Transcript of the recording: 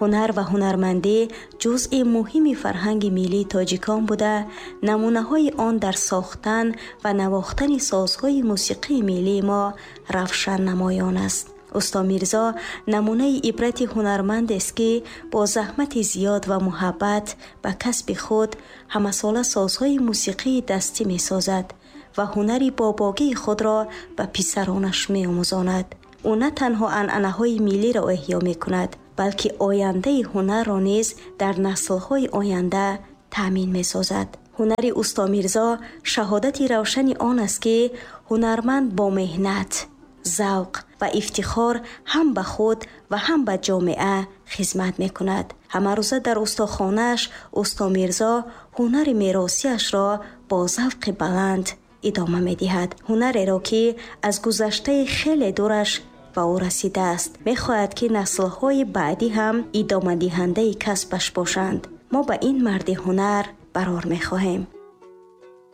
Ҳунар ва ҳунармандӣ ҷузъи муҳими фарҳанги миллии тоҷикон буда, намунаҳои он дар сохтан ва навохтани созҳои мусиқии миллии мо равшан намоён аст. Усто Мирзо намунаи ибрати ҳунармандест, ки бо заҳмати зиёд ва муҳаббат ба касби худ ҳамасола созҳои мусиқии дастӣ месозад ва ҳунари бобогии худро ба писаронаш меомӯзонад. Ӯ на танҳо анъанаҳои миллиро эҳё мекунад, балки ояндаи ҳунарро низ дар наслҳои оянда таъмин месозад. Ҳунари усто Мирзо шаҳодати равшани он аст, ки ҳунарманд бо меҳнат, завқ ва ифтихор ҳам ба худ ва ҳам ба ҷомеа хизмат мекунад. Ҳамарӯза дар устохонааш усто Мирзо ҳунари меросиашро бо завқи баланд идома медиҳад. Ҳунареро, ки аз гузаштаи хеле дураш ба ӯ расидааст. Мехоҳад, ки наслҳои баъдӣ ҳам идомадиҳандаи касбаш бошанд. Мо ба ин марди ҳунар барор мехоҳем.